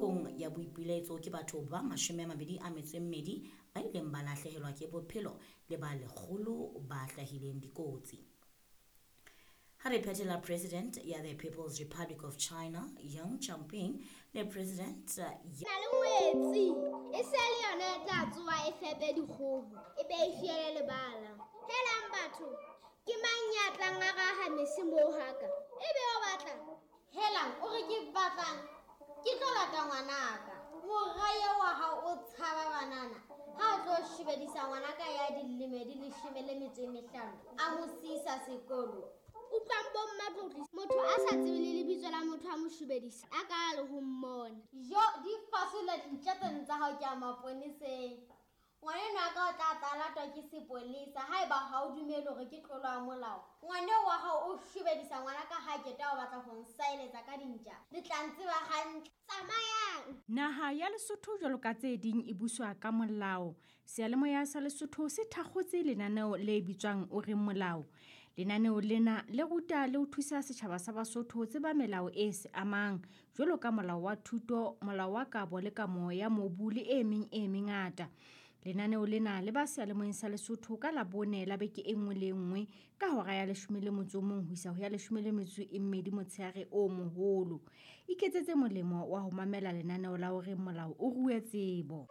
Nakong ya boipiletso ke batho ba 22 ba ileng ba lahlehelwa ke bophelo le ba 100 ba hlahileng dikotsi. Ha re phethela President ya the People's Republic of China Yang Jinping le President ya Na le ngwetsi e se le yona e tla tsoha e fepe dikgoho e be e fiele lebala. Helang batho, ke mang ya tlang a raha mese moo haka? E be o batlang? Helang, o re ke batlang? Ke tlo lata ngwanaka. Mora eo wa hao o tshaba banana. Ha o tlo shebedisa ngwanaka ya dilemo di 15, a mo siisa sekolo. Utlwang bo mmatlotli, motho a sa tsebe le lebitso la motho a mo shebedisa, a ka le ho mmona. Jo, di fasola dintja tseno tsa hao ke a maponeseng. Ngwaneno a ka o tla tla latwa ke sepolesa haeba ha o dumele hore ke tlolo ya molao. Ngwaneo wa hao o shebedisa ngwana ka ha keta o batla ho nsaeletsa ka dintja. Le tla ntseba hantle. Tsamayang. Naha ya Lesotho jwalo ka tse ding e buswa ka molao. Seyalemoya sa Lesotho se thakgotse lenaneo le bitswang O Reng Molao. Lenaneo lena le ruta le ho thusa setjhaba sa Basotho ho tseba melao e se amang jwalo ka molao wa thuto, molao wa kabo le kamo ya mobu le e meng e mengata. Lenaneo lena le ba seyalemoyeng sa Lesotho ka Labone la beke e nngwe le e nngwe ka hora ya 11 ho isa ho ya 12 motshehare o moholo. Iketsetse molemo wa ho mamela lenaneo la O Reng Molao o rue tsebo.